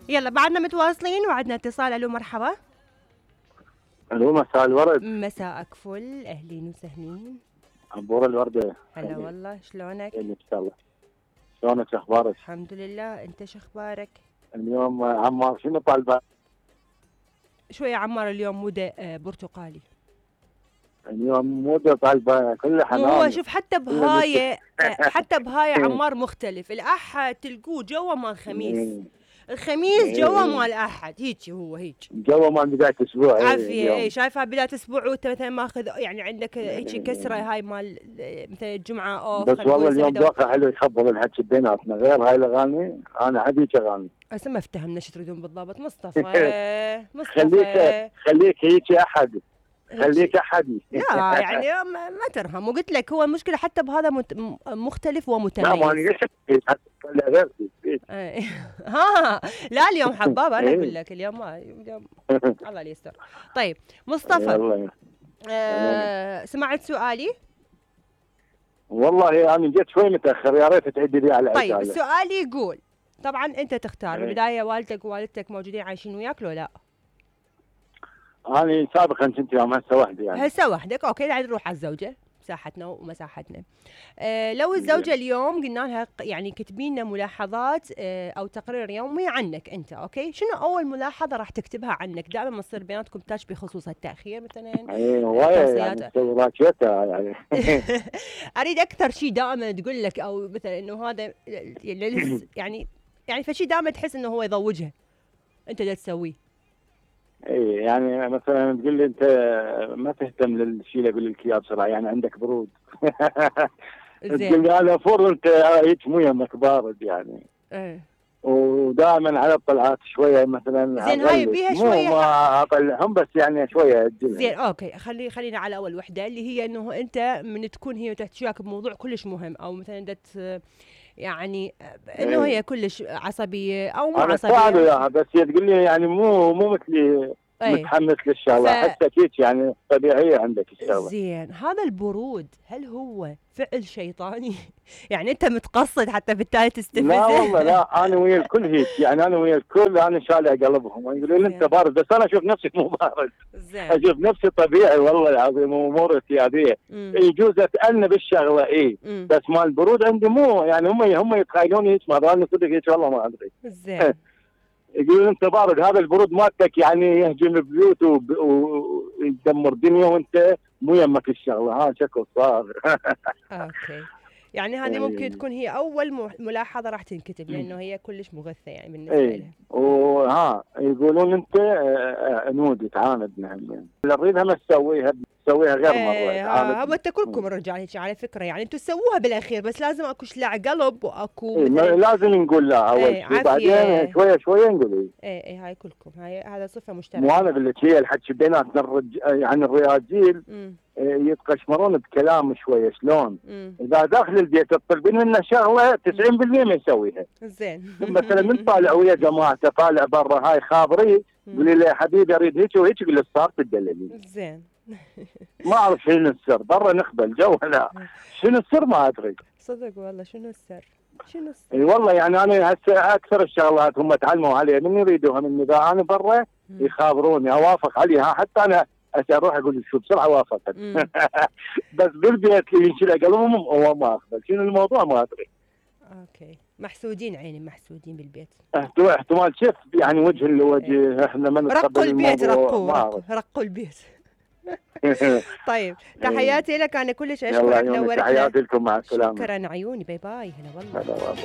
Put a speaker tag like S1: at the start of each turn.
S1: يلا بعدنا متواصلين وعدنا اتصال. الو مرحبا.
S2: الو مساء الورد.
S1: مساءك فل، اهلين وسهلين.
S2: عبور الوردة.
S1: هلا والله، شلونك؟
S2: ان شاء الله. شلونك اخبارك؟
S1: الحمد لله، انت شو اخبارك؟
S2: اليوم عمار شنو طالبه؟
S1: شو يا عمار اليوم مودة برتقالي.
S2: اليوم مودة طالبه كل حنان.
S1: هو شوف حتى بهاي حتى بهاي عمار مختلف. الاحد تلقوه جوا مال خميس، الخميس جوا مال احد، هيك هو هيك
S2: جوا مال بداية اسبوع.
S1: عافية. اي شايفها بداية اسبوع وانت مثلا ماخذ يعني عندك هيك كسرة هاي مال مثلا الجمعة اوف.
S2: بس والله اليوم ذوقها حلو يخبل الحكي بيناتنا غير هاي الاغاني. انا عادي اغاني.
S1: هسه ما افتهمنا شو تريدون بالضبط. مصطفى
S2: خليك هيك احد، خليك احد.
S1: لا يعني ما ترهم. وقلت لك هو المشكله حتى بهذا مختلف ومتميز.
S2: لا ما غير
S1: ها لا اليوم حباب. انا اقول لك اليوم ما الله يستر. طيب مصطفى، سمعت سؤالي؟
S2: والله انا جيت شوي متاخر، يا ريت تعدي لي على
S1: طيب سؤالي يقول طبعا انت تختار بالبدايه والدك ووالدتك موجودين عايشين وياك لو لا؟
S2: أنا سابقا كنت يوم هسه وحدي يعني.
S1: هسه وحدك، اوكي. يعني نروح على الزوجه، مساحتنا ومساحتنا. لو الزوجه اليوم قلنا لها يعني كتبي لنا ملاحظات او تقرير يومي عنك انت، اوكي، شنو اول ملاحظه راح تكتبها عنك؟ دائما ما تصير بيناتكم تاش بخصوص التأخير مثلا.
S2: ايوه يعني يعني
S1: اريد اكثر شيء دائما تقول لك، او مثلا انه هذا يعني فشي دائما تحس انه هو يضوجها انت دا تسويه.
S2: اي يعني مثلا تقول لي انت ما تهتم للشيء اللي اقول لك اياه بسرعه، يعني عندك برود. تقول لي انا فور انت هيك مو يمك بارد يعني. ودائما على الطلعات شويه مثلا.
S1: زين هاي بيها شويه
S2: ما اطلعهم بس يعني شويه.
S1: زين اوكي. خلينا على اول وحده اللي هي انه انت من تكون هي تحكيك بموضوع كلش مهم، او مثلا يعني انه هي كلش عصبيه او مو عصبيه.
S2: انا بس هي تقول لي يعني مو مثلي متحمس للشغله. حسيت يعني طبيعيه عندك الشغله.
S1: زين هذا البرود هل هو فعل شيطاني؟ يعني انت متقصد حتى بالتالي تستفزه؟
S2: لا والله لا، انا ويا الكل هيك يعني. انا ويا الكل انا شالع قلبهم يقولوا لي انت بارد، بس انا اشوف نفسي مو بارد. اشوف نفسي طبيعي والله العظيم، امور اعتياديه. يجوز اتأنى بالشغله بس مال البرود عندي مو يعني. هم يتخيلوني هيك، ما انا صدق هيك والله ما ادري.
S1: زين
S2: يقولون انت بارد، هذا البرود مالتك يعني يهجم بيوت ويدمر دنيا، وانت مو يمك الشغله. ها شكل صار.
S1: اوكي يعني هذه ممكن تكون هي اول ملاحظه راح تنكتب، لانه هي كلش مغثه يعني بالنسبه لها.
S2: وها يقولون انت نودي تعاندنا يعني. اللي نريدها ما تسويها غير مره.
S1: هو انت كلكم الرجال هيك على فكره يعني. انتم تسووها بالاخير، بس لازم اكو شلع قلب واكو
S2: لازم نقول لا اول شيء، بعدين شويه شويه نقول
S1: اي هاي كلكم هذا صفه مشتركه.
S2: مو انا اقول لك، هي الحكي بيناتنا يعني الرجال يتقشمرون بكلام شويه. شلون؟ اذا داخل البيت تطلبين منه شغله 90% ما يسويها.
S1: زين
S2: مثلا من طالع ويا جماعته طالع برا هاي خابري، قولي له يا حبيبي اريد هيك وهيك، يقول له صار تدللي.
S1: زين
S2: ما اعرف شنو السر، برا نخبل جو. لا شنو السر ما ادري
S1: صدق والله. شنو السر؟
S2: اي والله يعني انا هسه اكثر الشغلات هم تعلموا عليها من يريدوها مني. اذا انا برا يخابروني اوافق عليها، حتى انا اروح اقول شو بسرعه وافقت. بس بالبيت ينشل قلبهم هو ما اقبل. شنو الموضوع ما ادري.
S1: اوكي محسودين عيني، محسودين بالبيت.
S2: احتمال شف يعني وجه لوجه. احنا ما نتقبل
S1: رقوا البيت. رقوا البيت. طيب تحياتي لك، انا كلش اشكرك، نورتنا.
S2: تحياتي لكم، مع السلامه.
S1: شكرا عيوني، باي باي. هلا والله.